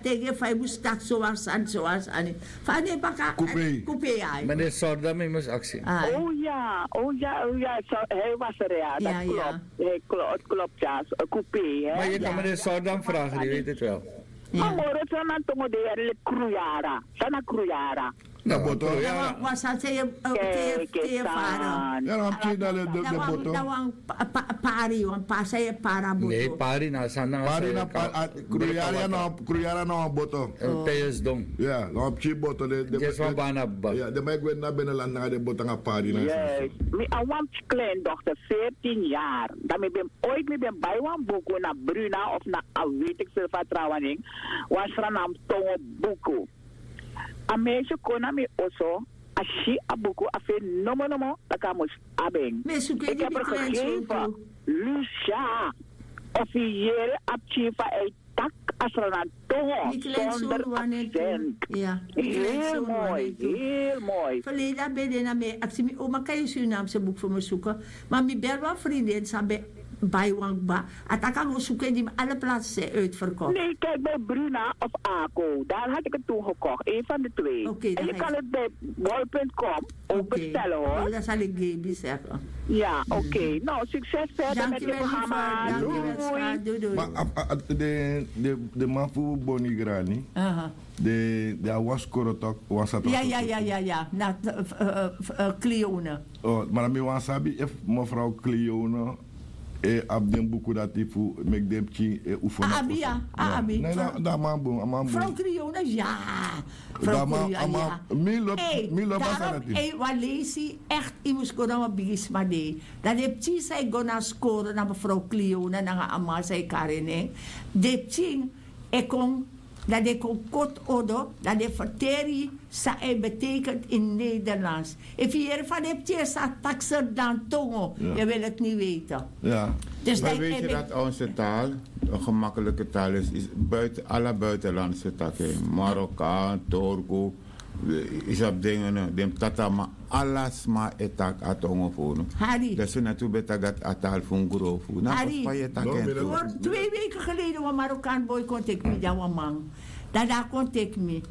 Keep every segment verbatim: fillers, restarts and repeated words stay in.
Tege fa yu mus taki sowar sani sowar sani. Fa a no e baka. Kupei. Kupei ai. Meneer Sordam, yu mus aksi. Ai. Oh ya, oh ya, oh ya, so, hij was er, ja. Dat klopt. Hij klopt, klopt, ja. Kupei, hè. Maar je kan meneer Sordam vragen, die weet het wel. Ma moro san na tongo de yere leki kruyara. San na kruyara? Na boto. Wan san san yu e fara. Ya na wan pikin na de boto. Na wan pari, wan pari san yu e para boto. Ne, pari na san na. Pari na, kruyara na wan boto. Teyes don. Ya na wan pikin boto de. Wan bana baba. Ya den man e gwe na binnenland nanga den boto nanga pari na. Mi a wan pikin kleindochter, veertien jaar. Dan mi ben ooit mi ben bai wan buku na Bruna of na a weet ik veel van trouwen. Wan sranam tongo buku. A meisje kon na mi oso, a si a buku, a feni nomo nomo tak' a mus abi en. Ik heb er gegeven. Lucia, of yu yere a pikin fa a e taki a sranan tongo zonder accent. Heel mooi, heel mooi. Verleden a ben de na mi e aksi mi oma kan yu Surinaamse boek fu mi suku. Ma mi bel wan vriendin san ben bai wan kba. A taki a go suku en di mi alle plaatsen zijn uitverkocht. Nee, kijk, bij Bruna of Ako. Daar had ik het toen gekocht. Een van de twee. En je kan het bij bol punt com ook bestellen, hoor. Dat zal ik Gaby zeggen. Ja, oké. Nou, succes verder met je programma. Doei. Ma de man fu Boni Grani, de a wan skoro tok wan sata. Ya ya ya ya ya na Cleone. Ma dan mi wan sabi efu mevrouw Cleone e abi den buku dati fu meki den pikin e ufon. A abi ya, a abi. Dan a man bun, a man bun. Mevrouw Cleone ya. Mevrouw Cleone ya. Mi lobi a sani dati. Wan leisi echt yu mus go na wan bigisma dei. Dan den pikin san e go na skoro na mevrouw Cleone nanga a man san e kari en nen. Den pikin e kon dan den kon koti odo dan den ferteri san e betekent in Nederlands. Efu yu yere fa den pikin e sa taki serdan tongo, yu wil het ni weten. Dus dan weet je dat onze taal een gemakkelijke taal is. Is buiten alle buitenlandse takken, Marokkaan, Turko, is op dingen den tata ma ala sma e taki a tongo fu unu. Hari. Dus na tu ben taki dati a taal fu un grofu na fa yu e taki en tu. Twee weken geleden wan Marokkaan boy kon teki mi dan wan man. Dan dan a kon teki mi.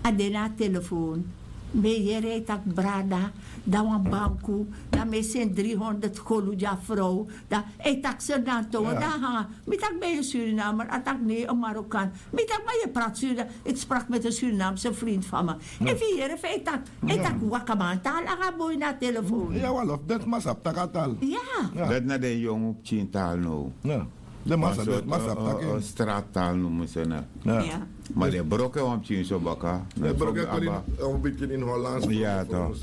A de na a telefoon. Mi e yere a e taki brada. Dan wan banku. Dan mi e seni dri honderd golu gi a frow. Dan a e taki serdan tongo dan a hanga. Mi taki ben yu Surinamer? A taki nei, en Marokkaan. Mi taki ma yu e prati Surinaam. Ik sprak met en Surinaamse vriend van mi. Efu yu yere fa a e taki, a e taki wakaman taal nanga a boi na a telefoon. Ya wan lof den sma sabi taki a taal. Ya. Dati na den yongu pikin taal now. Den man sabi taki en straat taal nomu se na. Ma den broko en wan pikin so baka. Den broko en kon ini wan pikin ini Hollands. Ya to.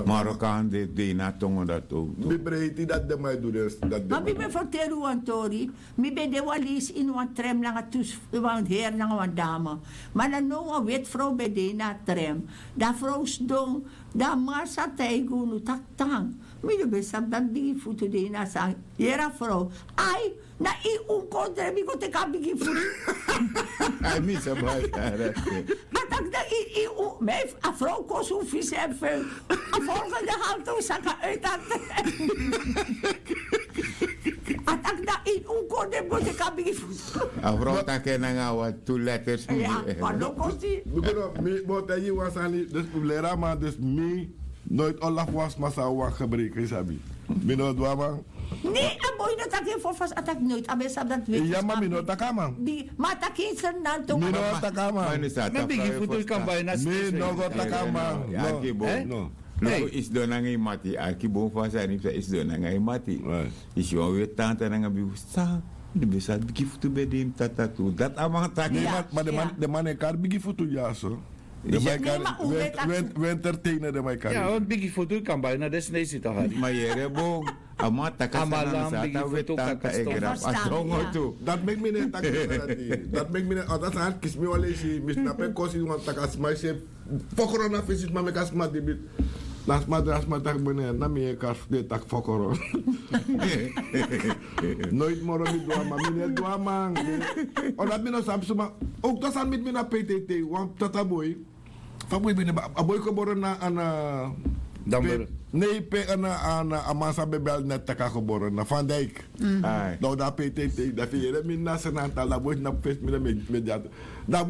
Marokkaan de de ini a tongo dati. Mi breiti dati den man e du den dati. Ma mi ben ferteri wan tori. Mi ben de wan leisi ini wan trem nanga tu wan heri nanga wan dame. Ma na now wan weti frow ben de ini a trem. Dan a frow sidon. Dan a man sa taigi unu taki tan. Mi no ben sabi dati bigi futu de ini a sani. Yere a frow. Ai, na yu un kon dre mi go teki a bigi futu. Ai mi sabi a taki na yu yu un. Ma efu a frow kosi un fisi en fu en. A folgende haltu un saka uiti a trem. A taki na yu un kon dre mi go teki a bigi futu. A frow taki en nanga wan tu letters. Mi ben no kosi. Mi ben no mi ben o taigi yu wan sani dus fu leri a man dus mi noiti o lafu wan sma san a wan gebreker yu sabi. Mi no du a man. Ne a boi no taki en fo fasi a taki noiti a ben sabi dati weti. Ya ma mi no taki a man. Ma a taki en sernan tongo. Mi no taki a man. Ma bigi futu yu kan bai na stres. Mi no go taki a man. Luku yu sidon nanga yu mati arki bun fu a sani fu san yu sidon nanga yu mati. Yu si wan weti tanta nanga bigi futu san di ben sabi bigi futu ben de ini tata tu dati a man taki. Ma den man e kari bigi futu dyaso. Den man e kari. Wi entertainer den man e kari. Ya wan bigi futu yu kan bai na den sneisi to hari. Ma yere bun. A man taki a sani na mi sa tan weti tanta e grafu a tongo tu. Dati meki mi no e taki dati. Dati meki mi no e taki dati sani kisi mi wan leisi mi sna pe kosi wan taki a sma yu se. Fokoro na fesi sma meki a sma dibi. Na sma dra sma taki bene na mi e kari fu den taki fokoro. Noiti moro mi du a man mi no e du a man. Omdat mi no sabi suma. Ook dat sani miti mi na peitei tei wan tata boi. Fa boi ben de a boi gebore na ana. Nei pe ana ana a man san ben bel net taki a gebore na van dijk. Dan un de a peitei tei dan fu yere mi na senantal dan boi na fu fesi mi na mediato. Dan boi